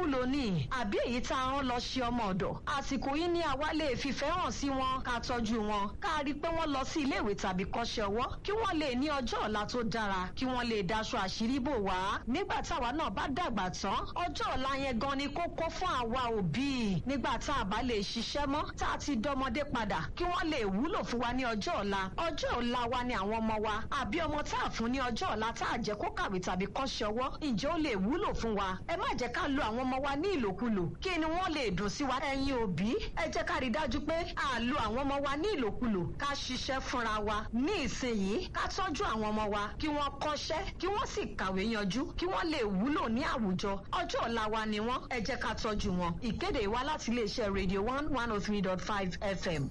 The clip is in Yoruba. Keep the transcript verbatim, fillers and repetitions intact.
nílòkulò ni àbí èyí tá a rán lọ ṣe ọmọ ọ̀dọ̀. Àsìkò yìí ni àwa lè fìfẹ́ hàn sí wọn, ká tọ́jú wọn, ká rí i pé wọ́n lọ sí iléèwé tàbí kọ́ṣẹ́ ọwọ́, kí wọ́n lè ní ọjọ́ ọ̀la tó dára, kí wọ́n lè daṣọ àṣírí bò wá. Nígbà táwa náà bá dàgbà tán, ọjọ́ ọ̀la yẹn gan ni kókó fún àwa òbí. Nígbà tá a bá lè ṣiṣẹ́ mọ́, tá a ti dọmọdé padà, kí wọ́n lè wúlò fún wa ní ọjọ́ ọ̀la. Ọjọ́ ọ̀la wa ni àwọn ọmọ wa. Àbí ọmọ tá a fún ní ọjọ́ ọ̀la tá a jẹ́ kó kàwé tàbí kọ́ṣẹ́ ọwọ́, ǹjẹ́ ó lè wúlò fún wa? Ẹ má jẹ́ ká lo àwọn ọmọ wa ní ìlòkulò. Kí ni wọ́n lè dùn sí wa? Ẹ̀yin òbí, ẹ jẹ́ ká rí dájú pé à lo àwọn ọmọ wa ní ìlòkulò. Ká ṣiṣẹ́ fúnra wa ní ìsinyìí, ká tọ́jú àwọn ọmọ wa, kí wọ́n kọ́ṣẹ́, kí wọ́n sì kàwé yanjú, kí wọ́n lè wúlò ní àwùjọ. Ọjọ́ ọ̀la wa ni wọ́n, ẹ jẹ́ ká tọ́jú wọn. Ìkéde wá láti iléeṣẹ́ Radio one one oh three dot five F M.